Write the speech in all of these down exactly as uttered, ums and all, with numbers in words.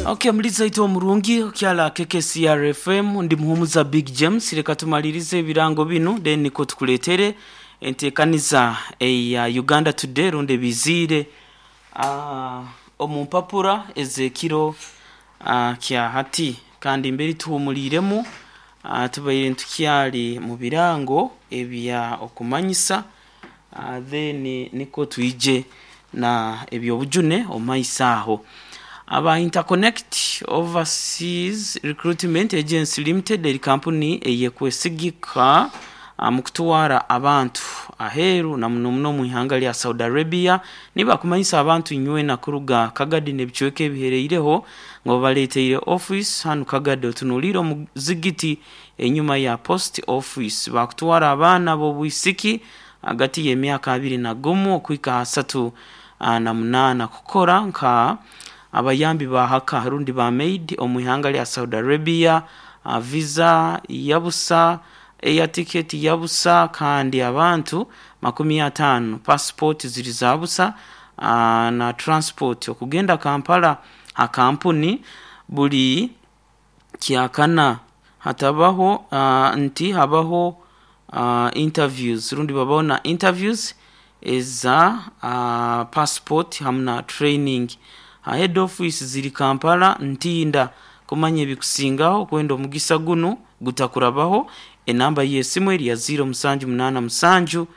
Okay, muliza itwe omurungi okyala K K C R F M, ndi Muhumuza Big James. Reka tumalirize ebirango binu, then niko tukuletere entekaniza eya Uganda Today rundi ebiziire uh, omu mpapura ezekiro uh, kya hati. Kandi mbere tuhumuliremu, uh, tubaire ntukyali mu birango ebya okumanyisa, uh, then niko twije na ebyobujune omumaiso aho. Aba Interconnect Overseas Recruitment Agency Limited eri kampuni eyekwesigika mu kutwara abantu aheeru, na muno muno mu ihanga lya Saudi Arabia. Nibakumanyisa abantu inywena kuruga Kagadi n'ebicweka ebihereireho ngo babaleteire office hanu Kagadi, otunuulire omuzigiti enyuma ya post office. Bakutwara abaana b'obwisiki hagati y'emyaka abiri na gumu okuhika asatu na munaana kukora nka abayambi ba haka rundi ba maid omu ihanga lya Saudi Arabia. uh, visa yabusa, air ticket yabusa, kandi abantu makumi ataano passport ziri za busa, uh, na transport okugenda Kampala ha kampuni buli kyakana. Hatabaho uh, nti habaho uh, interviews rundi babaho na interviews eza uh, passport hamu na training. uh, head office ziri Kampala, Ntinda. Kumanya ebikusingaho, kwenda omugisa gunu gutakurabaho, enamba y'esimu eri ya zero musanju munaana musanju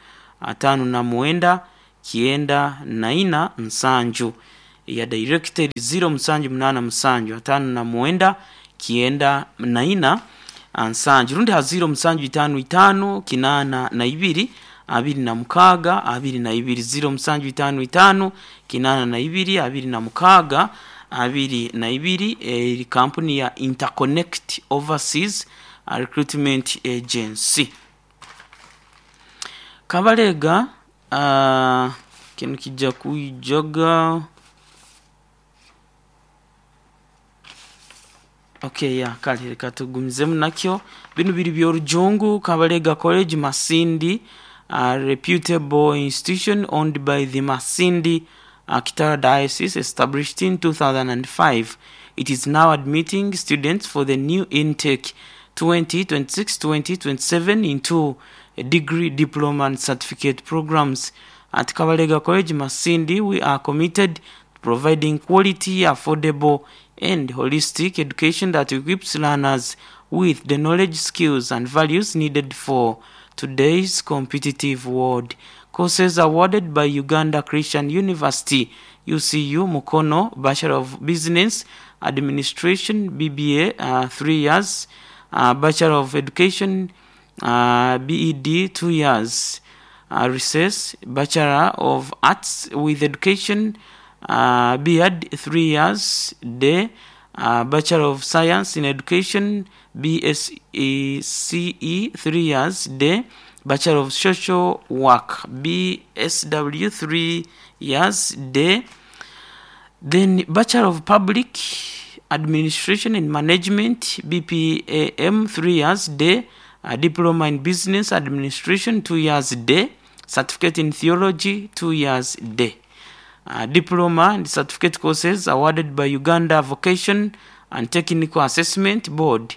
ataano na mwenda kyenda na ina nsanju. Eya director zero musanju munaana musanju ataano na mwenda kyenda na ina nsanju, rundi ha zero musanju itaano itaano kinaana na ibiri abiri na mukaaga abiri na ibiri, zero musanju itaano itaano kinaana na ibiri abiri na mukaaga abiri na ibiri. Eri kampuni ya Interconnect Overseas Recruitment Agency. Kabalega, uh, kinu kijja kwijaga. Okay, ya kale, reka tugumizemu nakyo. Binu biri byorujungu. Kabalega College Masindi, a reputable institution owned by the Masindi uh, Kitara Diocese, established in two thousand five. It is now admitting students for the new intake twenty twenty-six twenty twenty-seven into a degree, diploma and certificate programs. At Kabalega College Masindi, we are committed to providing quality, affordable and holistic education that equips learners with the knowledge, skills and values needed for today's competitive world. Courses awarded by Uganda Christian University, U C U Mukono: Bachelor of Business Administration, B B A, uh, three years, uh, Bachelor of Education, uh, B E D, two years, uh, recess, Bachelor of Arts with Education, uh, B Ed, three years, day, uh, Bachelor of Science in Education, B S E C E, three years, day, Bachelor of Social Work, B S W, three years, day, then Bachelor of Public Administration and Management, B P A M, three years, day, a Diploma in Business Administration, two years, day, Certificate in Theology, two years, day. Uh, diploma and certificate courses awarded by Uganda Vocation and Technical Assessment Board,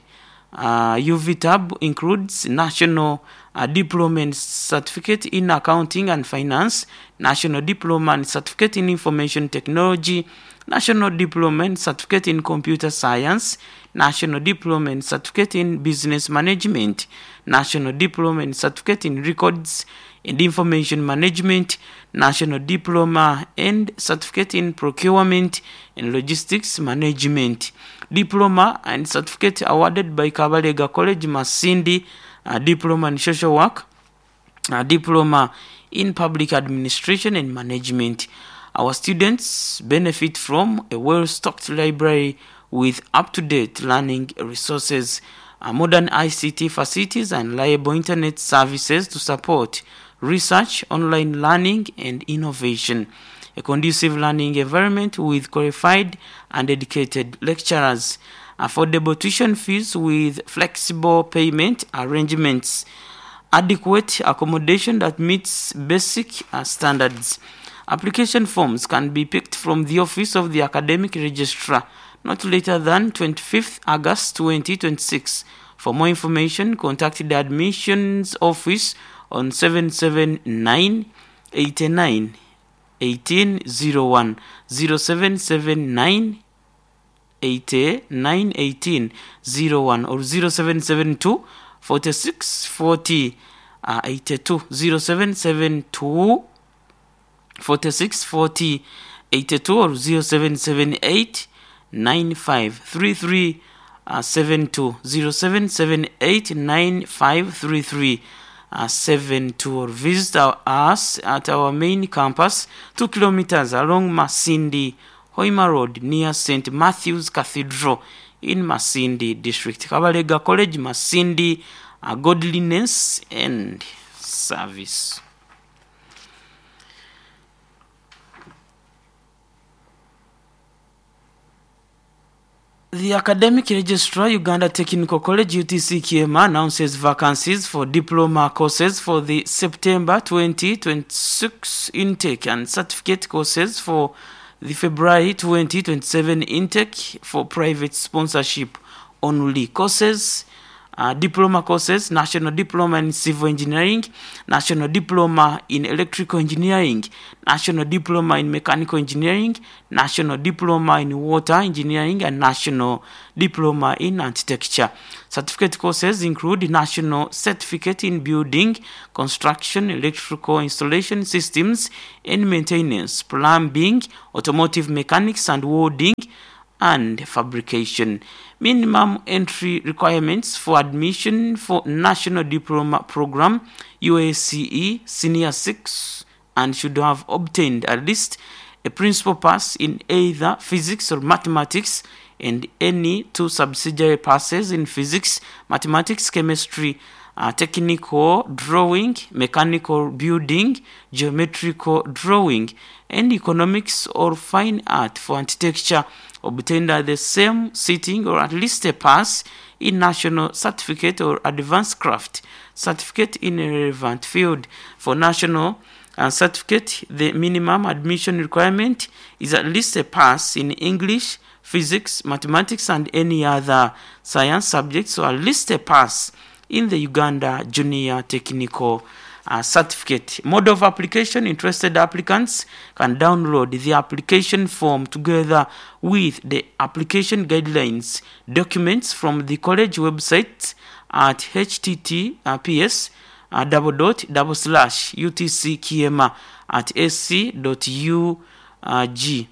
Uh, U V T A B, includes National uh, Diploma and Certificate in Accounting and Finance, National Diploma and Certificate in Information Technology, National Diploma and Certificate in Computer Science, National Diploma and Certificate in Business Management, National Diploma and Certificate in Records and Information Management, National Diploma and Certificate in Procurement and Logistics Management. Diploma and Certificate awarded by Kabalega College Masindi: uh, Diploma in Social Work, a Diploma in Public Administration and Management. Our students benefit from a well-stocked library with up-to-date learning resources, uh, modern I C T facilities and reliable internet services to support research, online learning and innovation. A conducive learning environment with qualified and dedicated lecturers, affordable tuition fees with flexible payment arrangements, adequate accommodation that meets basic uh, standards. Application forms can be picked from the office of the academic registrar, not later than twenty-fifth August twenty twenty-six. For more information, contact the admissions office on seven seven nine, eight nine, eighteen zero one, zero seven seven nine eighty-nine eighteen zero one or zero seven seven two forty-six forty, uh, eighty-two, zero seven seven two forty-six forty eighty-two or zero seven seven eight nine five three three, uh, seven two, zero seven seven eight nine five three three, uh, seven two, or visit our, us at our main campus, two kilometers along Masindi Hoima Road near Saint Matthew's Cathedral in Masindi District. Kabalega College, Masindi, uh, godliness and service. The Academic Registrar, Uganda Technical College, U T C Kiema, announces vacancies for diploma courses for the September twenty twenty-six intake and certificate courses for the February twenty twenty-seven intake for private sponsorship only. Courses, uh, diploma courses, National Diploma in Civil Engineering, National Diploma in Electrical Engineering, National Diploma in Mechanical Engineering, National Diploma in Water Engineering, and National Diploma in Architecture. Certificate courses include National Certificate in Building, Construction, Electrical Installation Systems and Maintenance, Plumbing, Automotive Mechanics and Welding, and Fabrication. Minimum entry requirements for admission for National Diploma Program, U A C E, Senior six, and should have obtained at least a principal pass in either physics or mathematics and any two subsidiary passes in physics, mathematics, chemistry, uh, technical drawing, mechanical building, geometrical drawing, and economics or fine art for architecture obtained at the same sitting or at least a pass in national certificate or advanced craft certificate in a relevant field. For national uh, certificate, the minimum admission requirement is at least a pass in English, physics, mathematics, and any other science subjects, so at least a pass in the Uganda Junior Technical uh, Certificate. Mode of application: interested applicants can download the application form together with the application guidelines documents from the college website at H T T P S, uh, double dot double slash U T C Kiema at A C dot U G.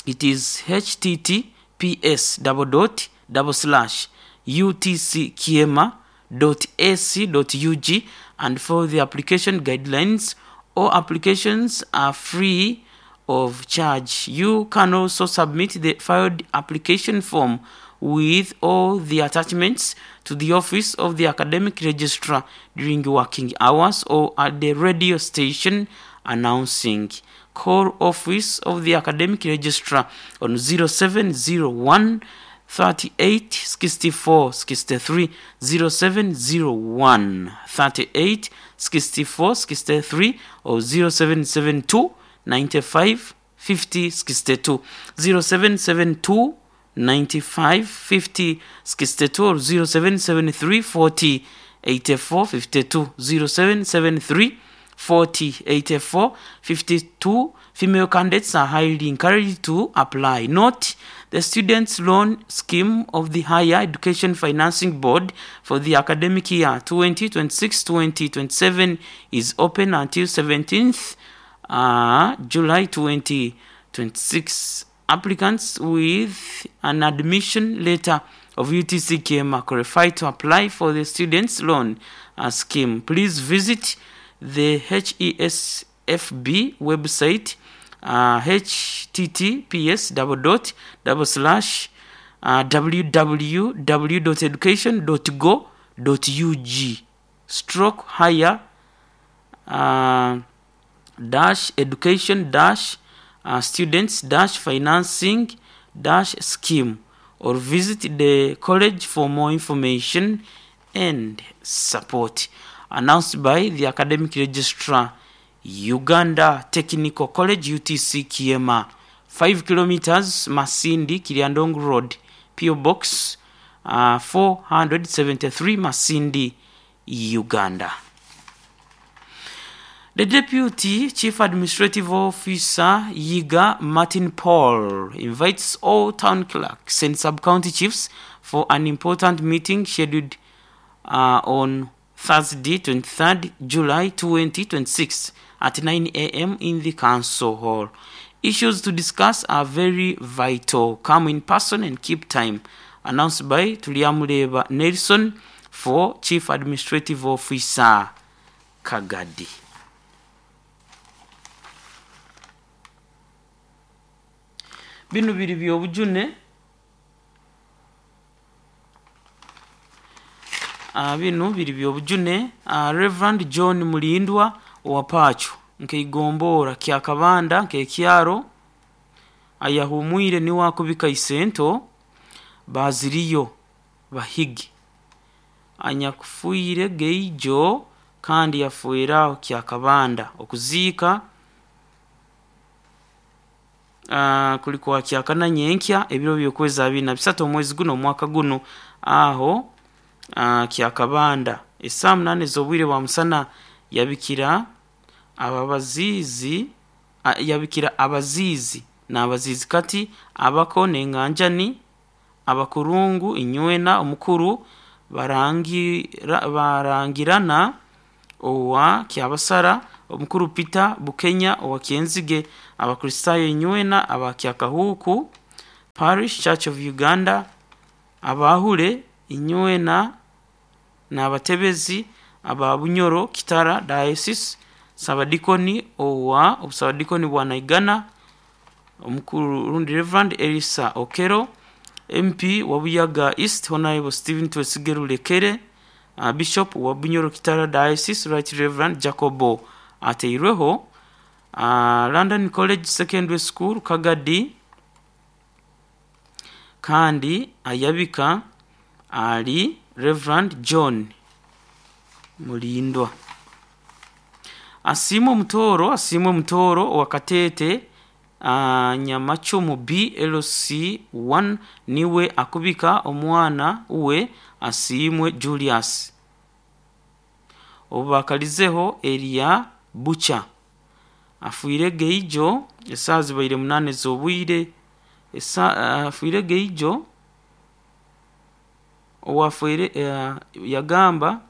It is H T T P S double dot double slash U T C Kiema dot A C dot U G, and for the application guidelines, all applications are free of charge. You can also submit the filed application form with all the attachments to the office of the academic registrar during working hours or at the radio station announcing. Call office of the academic registrar on zero seven zero one thirty-eight sixty-four sixty-three, zero seven zero one thirty-eight sixty-four sixty-three or zero seven seven two ninety-five fifty sixty-two, zero seven seven two ninety-five fifty sixty-two or zero seven seven three forty eighty-four fifty-two, zero seven seven three forty eighty-four fifty-two. Female candidates are highly encouraged to apply. Note, the students' loan scheme of the Higher Education Financing Board for the academic year twenty twenty-six twenty twenty-seven is open until seventeenth, uh, July twenty twenty-six. Applicants with an admission letter of U T C Kiema are qualified to apply for the students' loan, uh, scheme. Please visit the H E S F B website, uh, H T T P S double dot double slash, uh, w w w dot education dot go dot U G stroke higher, uh, dash education dash, uh, students dash financing dash scheme, or visit the college for more information and support. Announced by the Academic Registrar, Uganda Technical College, U T C Kiema, five kilometers Masindi Kiryandongo Road, P O Box uh, four hundred seventy-three Masindi, Uganda. The Deputy Chief Administrative Officer Yiga Martin Paul invites all town clerks and sub-county chiefs for an important meeting scheduled uh, on Thursday, twenty-third July twenty twenty-six at nine A M in the council hall. Issues to discuss are very vital. Come in person and keep time. Announced by Tuliamuleba Nelson for Chief Administrative Officer Kagadi. Bino biri byobujune uh, bino biri byobujune uh, Reverend John Mulindwa owa Pacho nkeigombora kyakabanda nkekyaro ayahumwire ni wakubika isento baziriyo bahigi anyakufuire geijo kandi yafuiraho kyakabanda okuziika Uh, kulikuwa kyakana nyenkya ebiro byokwezi abiri na bisatu omwezi guno omwaka guno aho uh, kyakabanda esaa munane z'obwire bwa musana yabikira ababazizi uh, yabikira abazizi n'abazizi kati abako n'enganjani abakurungu inywena omukuru barangira barangirana owa kyabasara omukuru Peter Bukenya owa Kyenzige abakristayo inywena abakyakahuku Parish Church of Uganda abahule inywena n'abatebezi ababunyoro Kitara Diocese Sabadikoni owa obusabadikoni bwa Naigana omukuru rundi Reverend Elisa Okero M P wa Buyaga East Honorable Stephen Twesigeru Lekere uh, Bishop wa Bunyoro Kitara Diocese Right Reverend Jacobo Ateirweho uh, London College Secondary School Kagadi kandi ayabika ali Reverend John Mulindwa. Asimwe Mutoro asimwe Mutoro wa Katete uh, Nyamachumu B L C one niwe akubika omwana uwe asimwe Julius obakalizeho Elia Bucha afuire geijo esazi baire munane zobwire esa afuire geijo owafuire uh, yagamba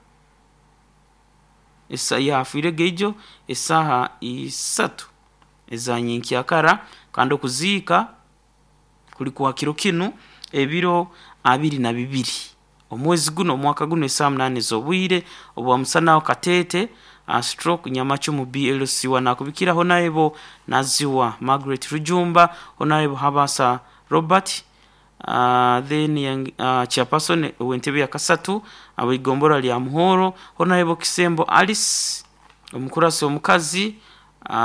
esa yafuire geijo esaha isatu ezanyenkyakara kandi okuziika kulikuwa kiro kinu ebiro abiri na bibiri omwezi guno omwaka guno esaa munane z'obwire obwa musanaho Katete uh, stroke Nyamachumu B L C one akubikira Honorable Naziwa Margaret Rujumba Honorable Habasa Robert uh, then uh, chairperson w'entebe ya kasatu abigombora lya Muhoro Honorable Kisembo Alice omukurasi omukazi uh,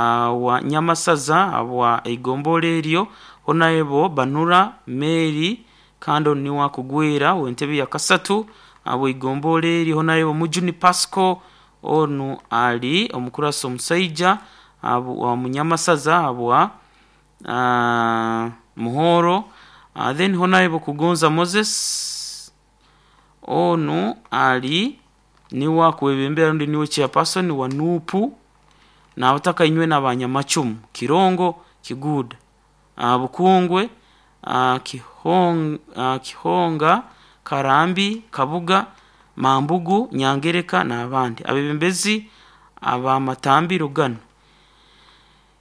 wa Nyamasaza abwa igombora eryo Honorable Banura Mary kando ni wakugwera w'entebe ya kasatu abo igombora eri Honorable Mujuni Pasco onu ali omukurasi omusaija abo wa Munyamasaza abwa uh, Muhoro uh, then Honorable Kugonza Moses onu ali ni wakwebembera ndi niwe chairperson wa Nupu n'abataka inywe n'abanyamacumu Kirongo Kiguda uh, Bukungwe uh, Kihong, uh, Kihonga Karambi Kabuga Mambugu Nyangereka n'abandi abebembezi abamatambi Rugano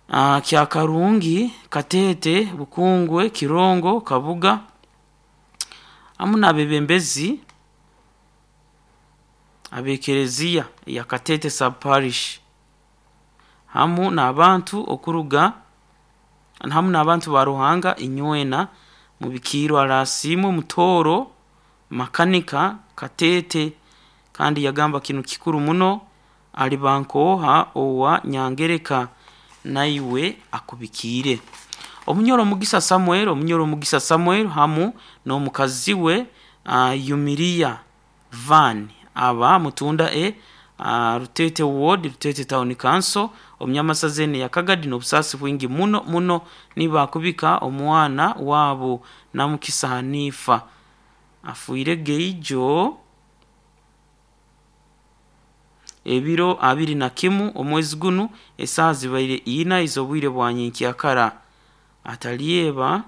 uh, Kyakarungi Katete Bukungwe Kirongo Kabuga amu n'abebembezi abekereziya ya Katete sub parish hamu n'abantu okuruga hamu n'abantu ba Ruhanga inywena mu bikiro arasimu Mutoro makanika Katete kandi yagamba kinu kikuru muno ali bankoha owa Nyangereka naiwe akubikire. Omunyoro Mugisa Samuel omunyoro Mugisa Samuel hamu n'omukazi we uh, Yumiria Van aba mutunda e uh, Rutete Ward, Rutete Town Council, omunyamasaza ene ya Kagadi n'obusaasi bwingi muno muno nibakubika omwana waabo Namukisa Hanifa afiire geijo ebiro abiri na kimu omwezi gunu esaaha zibaire ina ez'obwire bwa nyenkyakara atalyeba.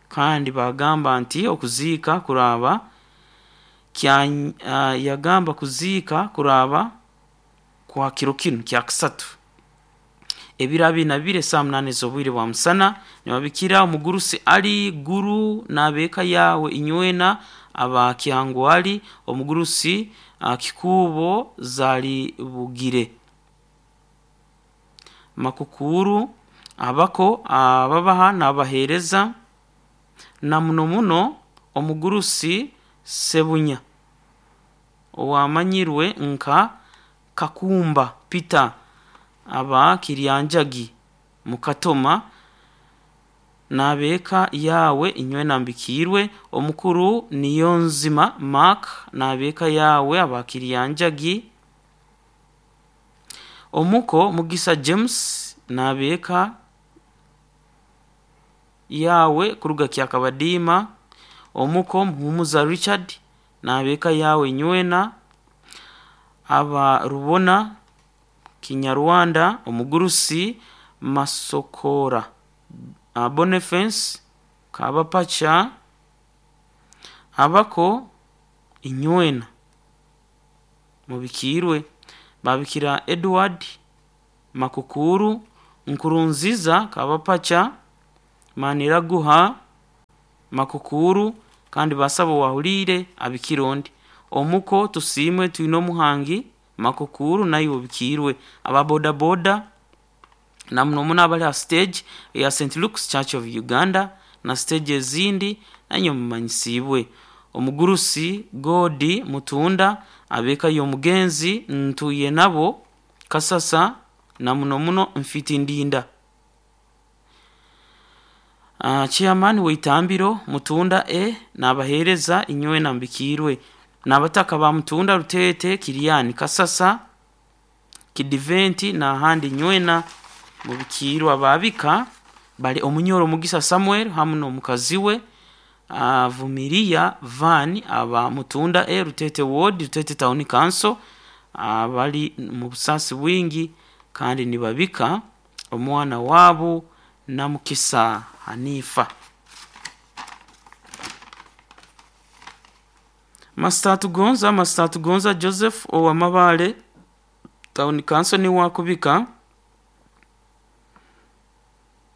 Kandi bagamba nti okuziika kuraba kya uh, yagamba kuziika kuraba kwa kiro kinu kya kusatu ebiro abiri na bibiri esaaha munaana ez'obwire bwa musana. Nibabikira omugurusi Ali Guru n'abeeka yawe inywena aba Kyangwali, omugurusi uh, Kikubo Zali Bugire Makukuru, abako ababaha n'abaheereza, na muno muno omugurusi Sebunya owamanyirwe nka Kakumba Peter aba Kiryanjagi Mukatoma n'abeeka yawe inywena mbikiirwe. Omukuru Niyonzima Mark n'abeeka yawe aba Kiryanjagi. Omuko Mugisa James n'abeeka yawe kuruga Kyakabadiima. Omuko Muhumuza Richard n'abeeka yawe inywena aba Rubona Kinyarwanda. Omugurusi Masokora uh, Boniface Kabapacha abako inywena mubikiirwe. Babikira Edward Makukuru, Nkurunziza Kabapacha, Maniraguha Makukuru, kandi basaba wahulire abikirondi. Omuko Tusimwe Twine Omuhangi Makukuru naye obikiirwe. Aba boda boda na muno muno abali ha stage ya Saint Luke's Church of Uganda na stage ezindi nanyo mumanyisibwe. Omugurusi Godi Mutunda abeeka y'omugenzi ntuye nabo Kasasa na muno muno nfiti ndinda. Uh, chairman weitambiro Mutunda e n'abaheereza inywena mbikiirwe. N'abataka ba Mutunda, Rutete, Kiriani, Kasasa, Kidiventi n'ahandi nywena mubikiirwe. Ababika bali Omunyoro Mugisa Samuel hamu n'omukazi we uh, Vumilia Van aba Mutunda e Rutete Ward, Rutete Town Council, uh, bali mu busaasi bwingi kandi nibabika omwana waabo Namukisa Hanifa. Master Tugonza, Master Tugonza Joseph owamabale Town Council ni wakubika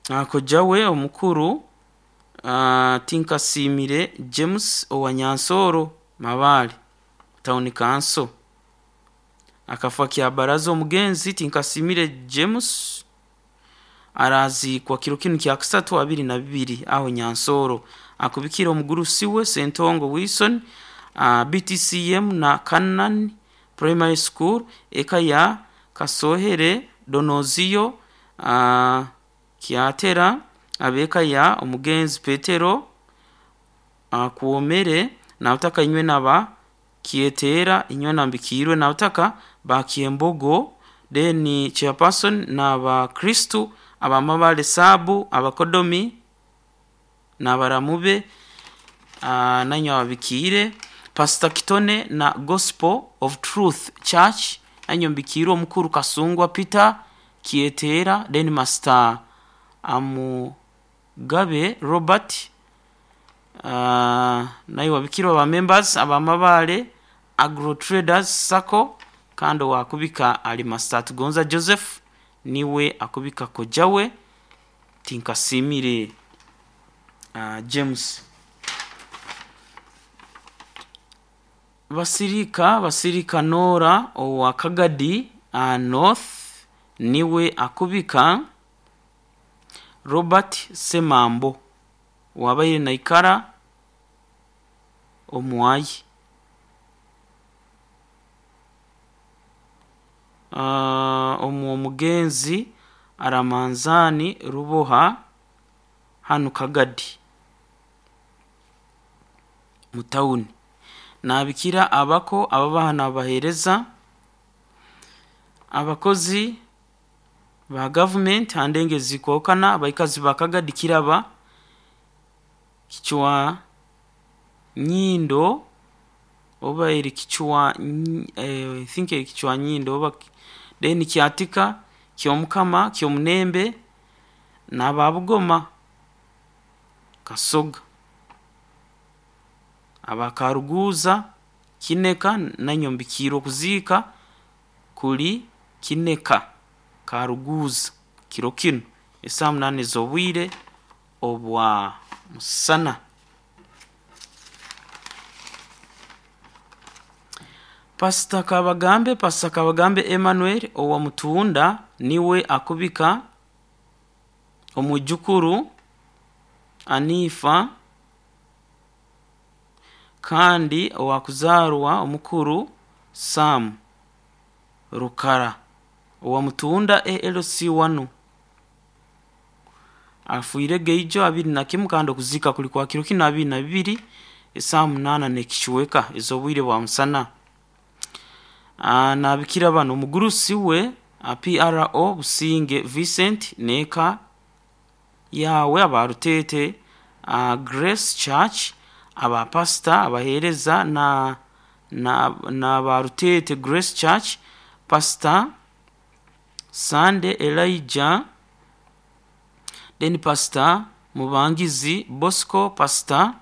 akojawe omukuru uh, Tinkasimire James owa Nyansoro Mabale Town Council akafa kya baraza. Omugenzi Tinkasimire James arazikwa kiro kinu kya kusatu abiri na bibiri aho Nyansoro. Akubikira omugurusi we Sentongo Wilson, uh, B T C M na Canaan Primary School, eka ya Kasohere Donozio uh, Kyatera, abeka ya omugenzi Petero uh, Kuomere nautaka inywe naba Kietera inywe nambikirwe nautaka ba Kiembogo deni chairperson na ba Kristu abamabale sabu abakodomi n'abaramube uh, nanyo ababikire. Pastor Kitone na Gospel of Truth Church nanyo mbikirwe. Omukuru Kasungwa Peter Kietera, then Master Amugabe Robert uh, nayo wabikirwa ba members abamabale Agro Traders Sacco, kandi wakubika ali Master Tugonza Joseph niwe akubika kojawe Tinkasimire uh, James. Basirika Basirika Nora owa Kagadi uh, North niwe akubika Robert Semambo wabaire naikara omwayi. Uh, omu omugenzi Aramanzani Ruboha hanu Kagadi mutawuni. Nabikira abako ababaha n'abaheereza Abakozi ba gavumenti handenge zikwokana abaikazi bakagadi kiraba kichwa nyindo oba eri kichwa eh, I think eri kichwa nyindo oba then kyatika kyomukama kyomunembe n'ababugoma Kasoga abakaruguza Kineka nanyombikirwe okuziika kuli Kineka Karuguza kiro kinu esaaha munaana ez'obwire obwa musana. Pasita Kabagambe Pasita Kabagambe Emmanuel owa Mutunda niwe akubika omwijukuru Anifa kandi owakuzarwa omukuru Sam Rukara owa Mutunda A L C one afiire geijo abiri na kimu kandi okuzika kuli kwa kiro kinu abiri na bibiri esaaha munaana n'ekicweka ez'obwire bwa musana. Nabikira bano omugurusi we P R O Businge Vincent n'eka yawe abarutete Grace Church abapasita abaheereza na na n'abarutete Grace Church Pastor Sande Elijah then Pastor Mubangizi Bosco Pastor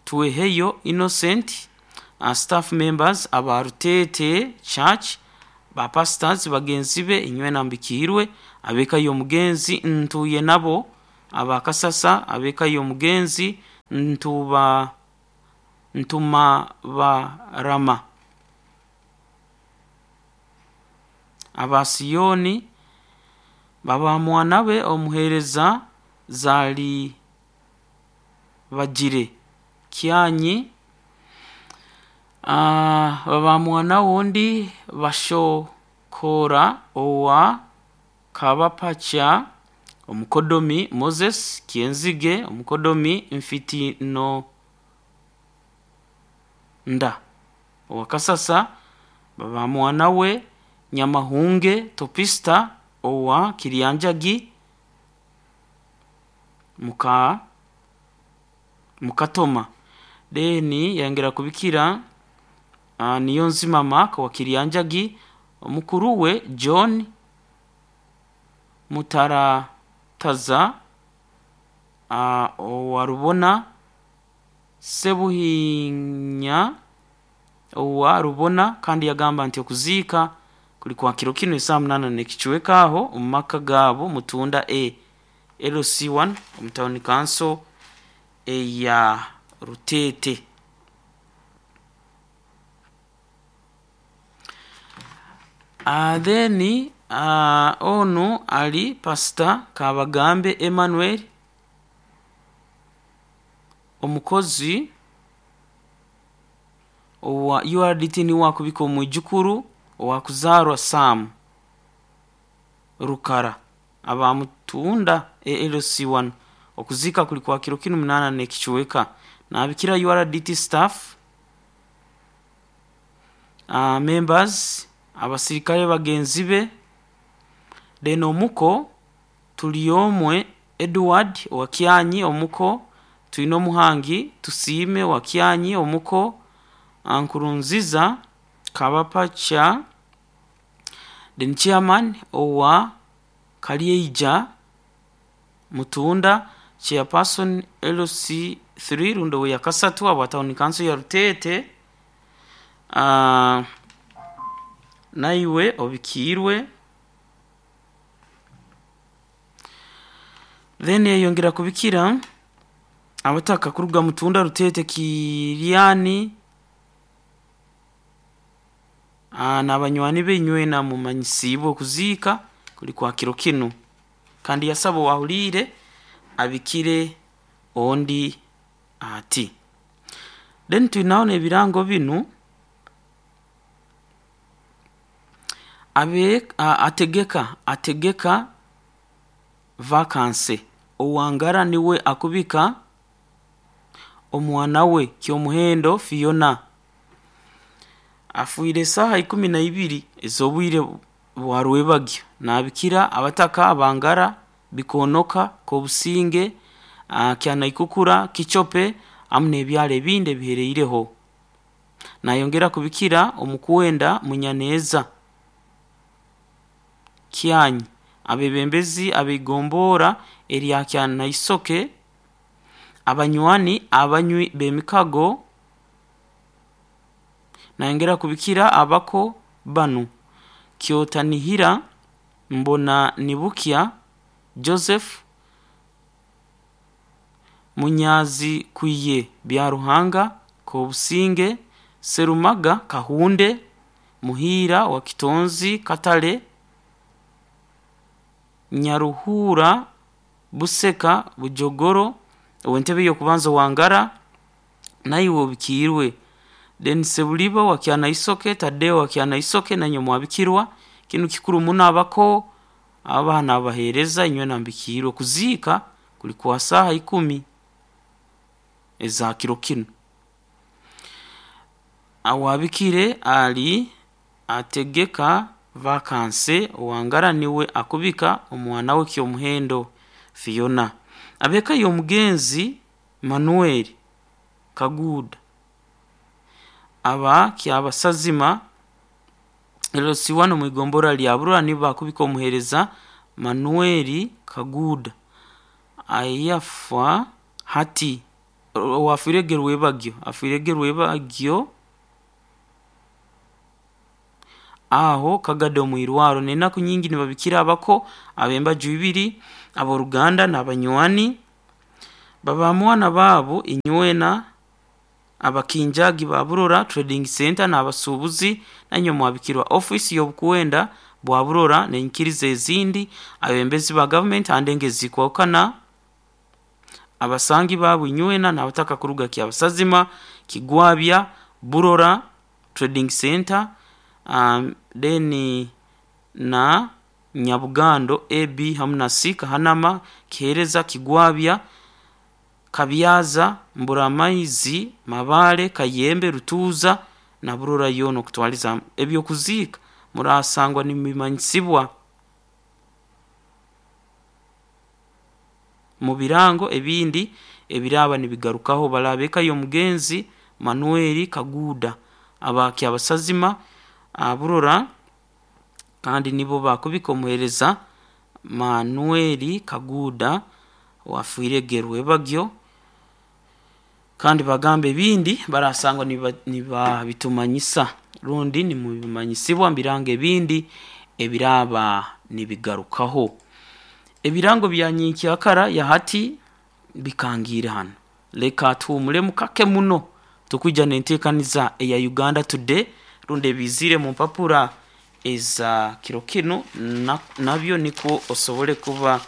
Tweheyo Innocent uh, staff members abarutete Church ba pastors bagenzi be inywe nambikirwe abeka y'omugenzi ntuye nabo abakasasa abeka y'omugenzi ntuba ntuma barama abasiyoni baba mwana be omuhereza zali bagire kyanyi uh, baba mwana wundi bashokora owa kabapacha omukodomi Moses Kienzige omukodomi mfiti no nda owakasasa baba mwana we Nyamahunge Topista owa Kirianjagi muka mukatoma deni yangera kubikira uh, Niyonzima Mark wa Kirianjagi omukuru we John Mutarataza uh, owa Rubona Sebuhinya owa Rubona kandi yagamba nti okuziika kuli kwa kiro kinu esaa munana n'ekicweka aho omu maka gaabo Mutunda A L C one omu town council eya Rutete. Uh, then uh, onu ali Pastor Kabagambe Emmanuel omukozi owa U R D T niwe akubika omwijukuru owakuzarwa Sam Rukara abamutunda A L C one okuzika kuli kwa kiro kinu munana n'ekicweka nabikira U R D T staff uh, members abasirikale bagenzi be then omuko Tuliomwe Edward wa Kyanyi omuko Twino Muhangi Tusiime wa Kyanyi omuko Nkurunziza Kabapacha then chairman owa Kalyeija Mutunda chairperson L C three rundo we yakasatu aba town council ya Rutete uh, naiwe obikirwe then yongera kubikira abataka kuruga Mutunda Rutete Kiriani n'abanywani benywe na mumanyisibwe okuziika kuli kwa kiro kinu kandi yasaba wahulire abikire ondi ati then tunaona ebirango binu abe ategeka ategeka vakanse owangara niwe akubika omwana we kyomuhendo Fiona afuire saha ikumi na ibiri ez'obwire Bwa Rwebagyo nabikira abataka abangara Bikonoka, Kobusinge, uh, Kyanaikukura, Kichope amu n'ebyalo ebindi ebihereireho. Nayongera kubikira omukwenda Munyaneza Kyanyi, abebembezi abeigombora erya Kyanaisoke, abanywani abanywi b'emikago. Nayongera kubikira abako banu: Kyotanihira, Mbona Nibukya, Joseph Munyazi, Kwiye Byaruhanga, Kobusinge, Serumaga, Kahunde, Muhira wa Kitonzi, Katale, Nyaruhura, Buseka, Bujogoro, ow'entebe y'okubanza Wangara, naiwe obikiirwe. Then Sebuliba wa Kyanaisoke, Tadeo wa Kyanaisoke, nanywe mwabikirwa. Kinu kikuru muno, abako abaana abaheereza inywe nambikiirwe. Kuziika kuli kwa saaha ikumi eza kiro kinu. Awabikire ali ategeka vakanse owangara niwe akubika omwana we Kyomuhendo Fiona. Abeka y'omugenzi Manuel Kaguda aba Kyabasazima L C one mwigombora lya Burora nibo bakubika omuheereza Manuel Kaguda ayafa hati owafwire Rwebagyo, afwire Rwebagyo aho kagade omwirwaro. N'enaku nyingi nibabikira abako ab'embaju ibiri, ab'oruganda n'abanywani babamwana baabo inywena. Abakinjagi ba Burora Trading Center n'abasuubuzi nanywe mwabikirwa. Office y'obukwenda bwa Burora n'enyikiriza ezindi, abembezi ba gavumenti handenge zikwahukana, abasangi baabo inywena n'abataka kuruga Kyabasazima, Kigwabya, Burora Trading Center, um, then na Nyabugando A B hamu na C, Kahanama, Kihereza, Kigwabya, Kabyaza, Mburamaizi, Mabale, Kayembe, Rutuuza na Burora yoona okutwaliza. Ebyokuziika murasangwa nimubimanyisibwa mu birango ebindi ebiraba nibigarukaho. Balabe eka y'omugenzi Manuel Kaguda aba Kyabasazima Burora, kandi nibo bakubika omuheereza Manuel Kaguda wafiire Gerwebagyo, kandi bagamba ebindi barasangwa nibabitumanyisa rundi nimubimanyisibwa mu birango ebindi ebiraba nibigarukaho. Ebirango bya nyenkyakara ya hati bikangiire hano. Leka tuhumulemu kake muno, tukwija n'enteekaniza eya Uganda Today rundi ebizire mu mpapura eza kiro kinu na, nabyo nikwo osobole kuba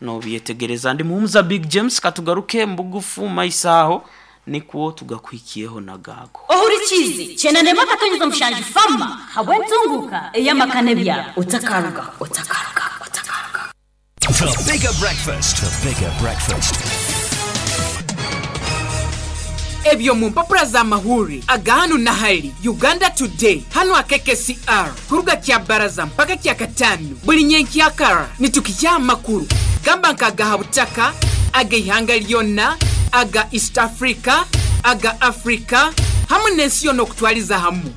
nobyetegereza. Ndi Muhumuza Big James, katugaruke mbugufu maiso aho nikwo tugakuhikiyeho nagago. Ohurikize chenanema katonyeza mushanju fama habwentunguka eyamakane byabo otakaruga, otakaruga, otakaruga. The bigger breakfast. The bigger breakfast. Ebyo mu mpapura za mahuri aga hanu na hali Uganda Today hanu A K K C R kuruga kya baraza mpaka kya katano buli nyenkyakara nitukijya amakuru gamba nkagaha butaka aga ihanga lyonna, aga East Africa, aga Africa hamwe n'ensi yonna okutwaliza hamu.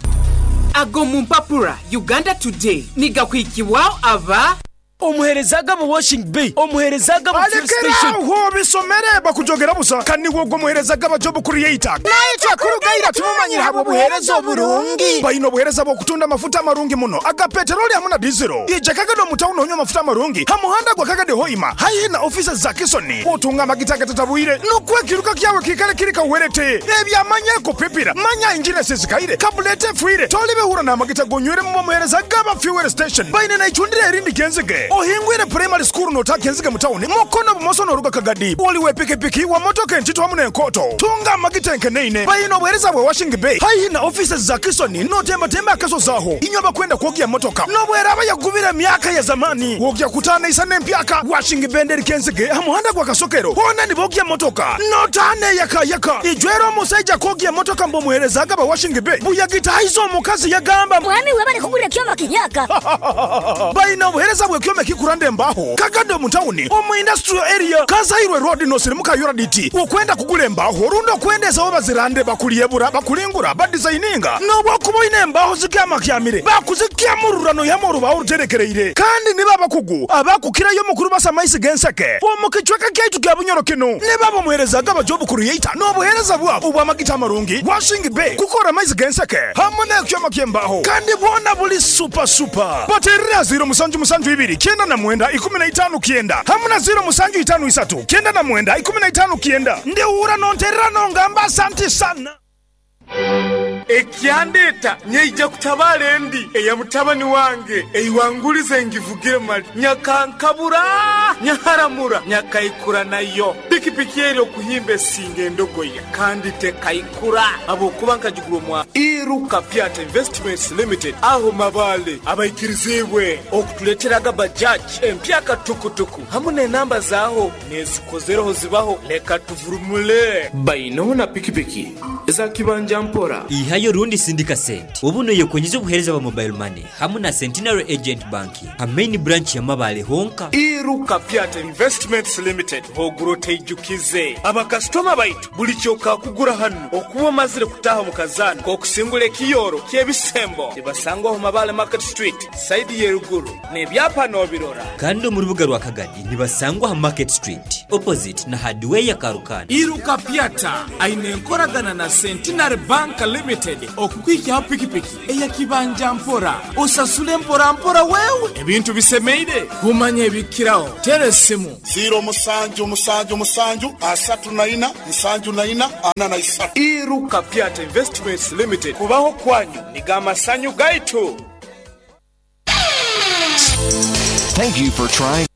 Ago mu mpapura Uganda Today nigakwikibwaho aba omuhereza gabo washing bay, omuhereza gabo fuel station. Aho bisomere bakujogera busa kandi wogwo muhereza gaba job creator naitwe kurugaira tumumanyira habwo buhereza oburungi. Baino obuhereza bwokutunda amafuta amarungi muno aga peteroli hamwe na dizelo. Ija Kagado mu tawuni onywa amafuta amarungi hamuhanda gwa Kagado Hoima haihi na ofisi za Kisoni. Otunga amagita gatatabwire nokwekiruka kyawe kikale kiri kawerete ebyamanya kupipira manya injini sisikaire kabulete efwire tolibehura n'amagita gonywere mu muhereza gaba fuel station. Baine naichundire erindi genzige. Ohingwire primary school n'otakenziga mu tawuni mukono bumoso n'oruga Kagadi. Oliwe pikipiki wa motoka entito hamu n'enkoto. Tunga amagitenke neine. Bayina obuheereza bwe Washing Bay. Haihi na offices za Kisoni n'otembatemba akasozi aho. Inywe abakwenda kwogya motoka. N'obweraba yagubira emyaka ya zamani. Wogya kutaana isa n'empyaka. Washing Bay nderi kenzige ha muhanda gwa Kasokero. Hona nibogya motoka. N'otaane yaka yaka. Ijwera omusajja kwogya motoka mbomuherezaga ba Washing Bay. Buyagitahiza omukazi yagamba mwami webale kugura ekyoma kinyaka. Bayina obuheereza bw'ekyoma kikuranda embaho. Kagado mu tawuni omu industrial area Kazairwe road nosirimuka Yoraditi. Okwenda kugula embaho rundo okwendezawo bazirande bakuliyebura bakulingura badesigninga n'obwokuba oyina embaho zikyamakyamire bakuzikyamururano yamu orubaho oruterekereire kandi niba abakugu abakukirayo mukuru basa amaisi g'enseke omu kicweka kyaitu kya Bunyoro kino niba bamuherezaga aba job creator n'obuheereza bwabo obw'amagita amarungi Washing Bay kukora amaizi g'enseke hamwe n'ekyoma ky'embaho kandi bwona buli super super. Baterera ziro musanju musanju ibiri kyenda na mwenda ikumi na itano kyenda hamwe na ziro musanju itano isatu kyenda na mwenda ikumi na itano kyenda ndiwura nonterera nongamba asante sana. Ekyandeta nyeija kutabala endi eya mutabani wange eiwangulize ngivugire mali nyakankabura nyaharamura nyakaikura nayo pikipiki eri okuhimba esinga endogoya kandi tekaikura abokuba nkagigura omwa Iruka Piata Investments Limited aho mabale abaikirizibwe okutuleteraga bajaji empyaka tukutuku hamwe n'enamba zaaho nezikozereho zibaho leka tuvurumule baino na pikipiki eza kibanja mpora ihayo rundi sindika sente ubu niyo kwenyeza obuhereza bwa mobile money hamwe na Centenary Agent Bank ha main branch ya Mabale honka. Iruka Piata Investments Limited hoguro teijukize abakasitoma baitu buli kyoka kugura hano okuba omazire kutaha mu kazana kokusingula ekiyoro ky'ebisembo tibasangwaho Mabale Market Street side yeruguru n'ebyapa n'obirora kandi mu rubuga rwa Kagadi nibasangwa ha Market Street opposite na hardware ya Karukana. Iruka Piata aine enkoragana na Centenary Bank Limited okukwikyaho pikipiki eyakibanja mpora osasule mpora mpora wewe ebintu bisemeire kumanya ebikiraho tere simu ziro musanju musanju musanju asatu na ina nsanju na ina ana na isatu. Iruka Piata Investments Limited kubaho kwanyu nigamasanyu gaitu. Thank you for trying.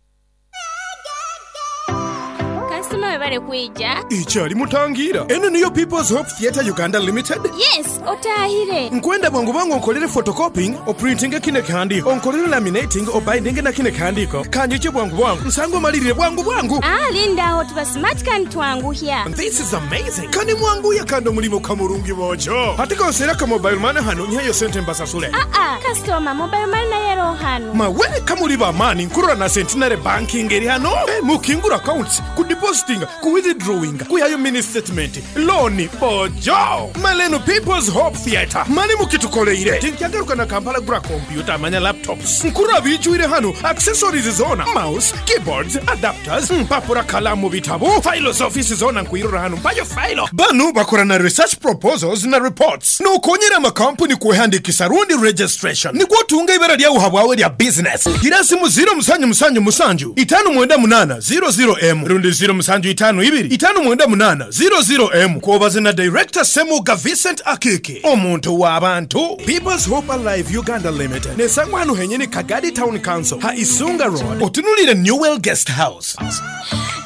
Customer webale kuija. Ikyali mutangira. Eno niyo People's Hope Theatre Uganda Limited? Yes, otahire. Nkwenda bwangu bwangu onkolere photocopying, oprinting kine kihandiko, onkolere laminating, obinding na kine kihandiko. Kanjiche bwangu bwangu, nsango malirire bwangu bwangu. Ah, linda aho tuba smart kan twanguhya. This is amazing. Kani mwangu ya kando mulimo kamurungi bojo. Hatika osera ka mobile money hano nyayo sente mbasasule. Ah ah, customer mobile money na yero hano. Mawe kamuri ba mani nkurura na Centenary Banking eri hano. Eh, mukingura accounts, ku depositing, ku withdrawing, ku yayo mini statement, loan bojo. Maleno People's Hope Theatre. Mani mukitukoleire. Tinkyagaruka na Kampala gura computer manya laptops. Nkurura bijuire hano accessories zona, mouse, keyboards, adapters, mpapura kalamu bitabo, files office zona nkuirura hano mpayo file. Banu bakora na research proposals na reports. Nokonyera amakampuni kuhandikisa rundi registration. Nigwo tunga ibara lya uhabwawe lya business. Gira simu zero musanju musanju musanju itanu mwenda munana zero zero M rundi zero musanju itanu ibiri itanu mwenda munana zero zero M kuobaze na director Semuga Vincent Akiki omuntu w'abantu. People's Hope Alive Uganda Limited nesangwa hano henyene Kagadi Town Council ha Isunga Road otunulire Newell Guest House.